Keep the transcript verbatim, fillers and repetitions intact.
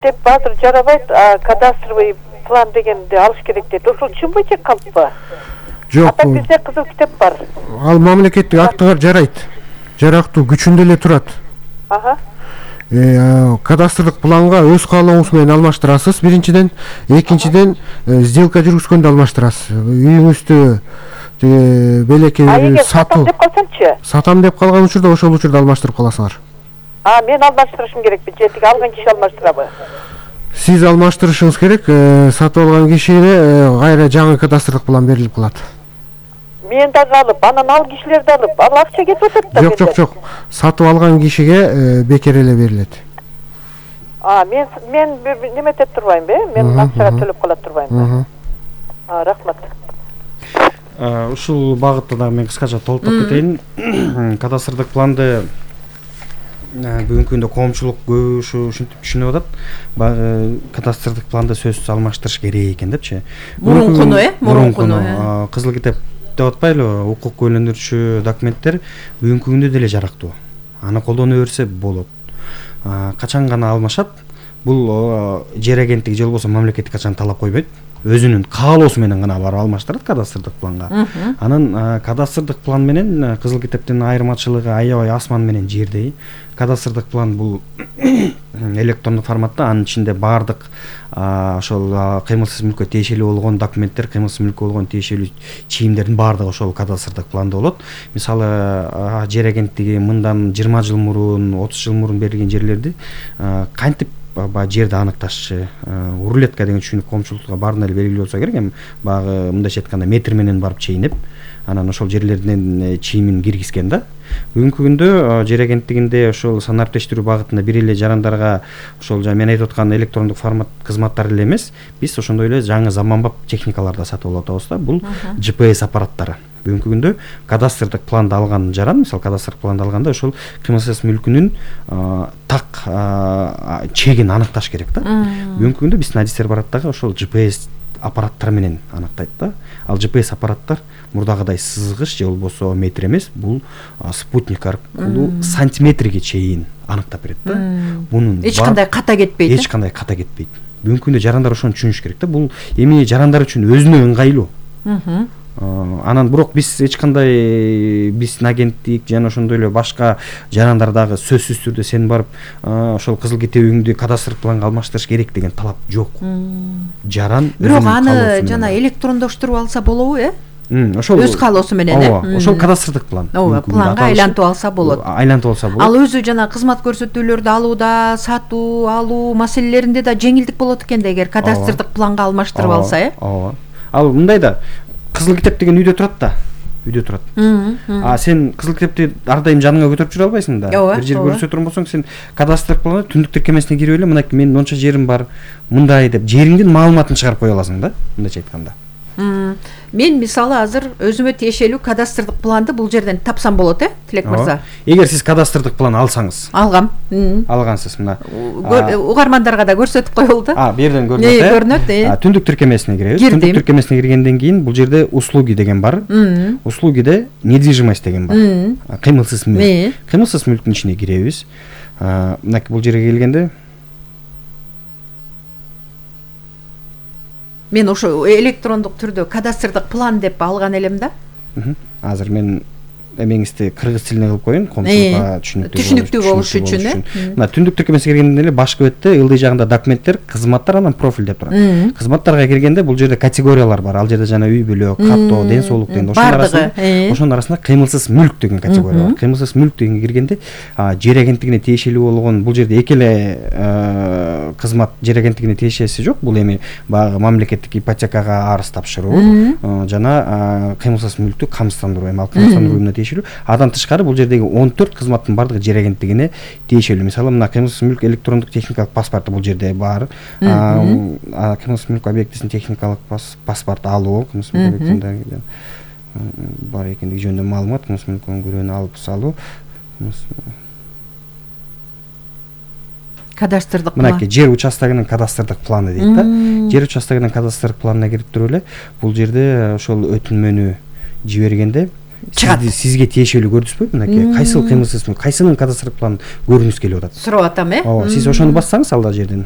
деп азыр жарабайт, кадастровый план дегенди алыш керек дейт. Ошол чынбы же калппы? Жок. Ата бизде кызыл китеп бар. Ал мамлекеттик актыга жарайт. Жарактуу күчүндө эле турат. Ага. Э, кадастрдык планга өз каалооңуз менен алмаштырасыз. Биринчиден, экинчиден сделка жүргүзгөндө алмаштырасыз. Үйүңүздү белекей сатуу деп калсамчы? Сатам деп калган учурда ошол учурда алмаштырып каласыңар. А, мен алмаштырышым керекпи же тиги алган киши алмаштырабы? Сиз алмаштырышыңыз керек, сатып алган кишине кайра жаңы кадастрдык план берилип калат. Мен дагы алып, анан ал кишилерди алып, ал акча кетип атат да. Жок, жок, жок. Сатып алган кишиге бекер эле берилет. А, мен мен неметет турбаймбы? Мен акчага төлөп кала турбаймбы? А, рахмат. Ушул багытта дагы мен кыскача толуктап кетейин. Кадастрдык планды бүгүнкү күндө коомчулук көбү ушинтип түшүнүп атат. Баягы кадастрдык планды сөзсүз алмаштырыш керек экен депчи. Мурункуну, э? Мурункуну. Кызыл китеп деп атпайлыбы? Укук көйлөндүрүүчү документтер бүгүнкү күндө деле жарактуу. Аны колдоно берсе болот. Качан гана алмашат? Бул жер агенттиги же болбосо мамлекеттик качан талап койбойт. Өзүнүн каалоосу менен гана барып алмаштырат кадастрдык планга. Анан кадастрдык план менен кызыл китептин айырмачылыгы аябай асман менен жердей. Кадастрдык план бул электрондук форматта, анын ичинде баардык ошол кыймылсыз мүлккө тиешелүү болгон документтер, кыймылсыз мүлккө болгон тиешелүү чийимдердин баардыгы ошол кадастрдык планда болот. Мисалы, жер агенттиги мындан жыйырма жыл мурун, отуз жыл мурун берилген жерлерди кантип баягы жерди аныкташчы, рулетка деген түшүнүк коомчулукка баардыгына эле белгилүү болсо керек. Эми баягы мындайча айтканда метр менен барып чейинип, анан ошол жерлердин чийимин киргизген да. Бүгүнкү күндө жер агенттигинде ошол санариптештирүү багытында бир эле жарандарга ошол жана мен айтып аткан электрондук формат кызматтар эле эмес, биз ошондой эле жаңы заманбап техникаларды сатып алып атабыз да. Бул джи пи эс аппараттары. Бүгүнкү күндө кадастрдык планды алган жаран, мисалы кадастрдык планды алганда ошол кыймылсыз мүлкүнүн так чегин аныкташ керек да. Бүгүнкү күндө биздин адистер барат дагы ошол джи пи эс аппараттар менен аныктайт да. Ал джи пи эс аппараттар мурдагыдай сызгыч же болбосо метр эмес, бул спутник аркылуу сантиметрге чейин аныктап берет да. Мунун эч кандай ката кетпейт. Эч кандай ката кетпейт. Бүгүнкү күндө жарандар ошону түшүнүш керек да. Бул эми жарандар үчүн өзүнө ыңгайлуу. Анан бирок биз эч кандай биздин агенттик жана ошондой эле башка жарандар дагы сөзсүз түрдө сен барып ошол кызыл китебиңди кадастр планга алмаштырыш керек деген талап жок. Жаран бирок аны жана электрондоштуруп алса болобу, э? Ошол өз каалоосу менен, э? Ошол кадастрдык план. Ооба, планга айлантып алса болот. Айлантып алса болот. Ал өзү жана кызмат көрсөтүүлөрдү алууда, сатуу, алуу маселелеринде да жеңилдик болот экен да, эгер кадастрдык планга алмаштырып алса, э? Ооба. Ал мындай да, кызыл китеп деген үйдө турат да. Үйдө турат. А сен кызыл китепти ар дайым жаныңа көтөрүп жүрө албайсың да. Бир жер көрсөтө турган болсоң, сен кадастр планы түндүк тиркемесине кирип эле, мынакей менин монча жерим бар, мындай деп жериңдин маалыматын чыгарып кое аласың да, мындайча айтканда. Мен мисалы азыр өзүмө тиешелүү кадастрдык планды бул жерден тапсам болот, э, Тилек мырза? Эгер сиз кадастрдык план алсаңыз. Алгам. Алгансыз, мына. Угармандарга да көрсөтүп коелду. А, бу жерден көрүнөт, э? Көрүнөт, э. Түндүк тиркемесине киребиз. Түндүк тиркемесине киргенден кийин бул жерде услуги деген бар. Услугиде недвижимость деген бар. Кыймылсыз мүлк. Кыймылсыз мүлктүн ичине киребиз. Мынакей бул жерге келгенде мен ошо электрондук түрдө кадастрдык план деп алган элем да. Азыр мен эмеңизди кыргыз тилине кылып коеюн, коомчулукка түшүнүктүү болуш үчүн, э. Мына түндүк тиркемесине киргенден эле башкы бетте ылдый жагында документтер, кызматтар, анан профиль деп турат. Кызматтарга киргенде бул жерде категориялар бар. Ал жерде жана үй бүлө, каттоо, ден соолук деген ошонун арасында, ошонун арасында кыймылсыз мүлк деген категория бар. Кыймылсыз мүлк дегенге киргенде жер агенттигине тиешелүү болгон, бул жерде эки эле кызмат жер агенттигине тиешеси жок. Бул эми баягы мамлекеттик ипотекага арыз тапшыруу жана кыймылсыз мүлктү камсыздандыруу, эми ал камсыздандырууна тиешелүү. Адан тышкары бул жердеги он төрт кызматтын бардыгы жер агенттигине тиешелүү. Мисалы, мына кыймылсыз мүлк электрондук техникалык паспорту бул жерде бар. Кыймылсыз мүлк объектисин техникалык паспорт алуу, кыймылсыз мүлк объектисинде бар экендиги жөнүндө маалымат, кыймылсыз мүлк өңгөрүүнү алып салуу. Кадастрдык план. Мынакей жер участогунун кадастрдык планы дейт да. Жер участогунун кадастрдык планына кирип туруп эле бул жерде ошол өтүнмөнү жибергенде сизди сизге тиешелүү көрдүңүзбү? Мынакей кайсыл кыймылсыз мүлк, кайсынын кадастр планын көргүңүз келип атат? Сурап атам, э? Ооба, сиз ошону бассаңыз алда жерден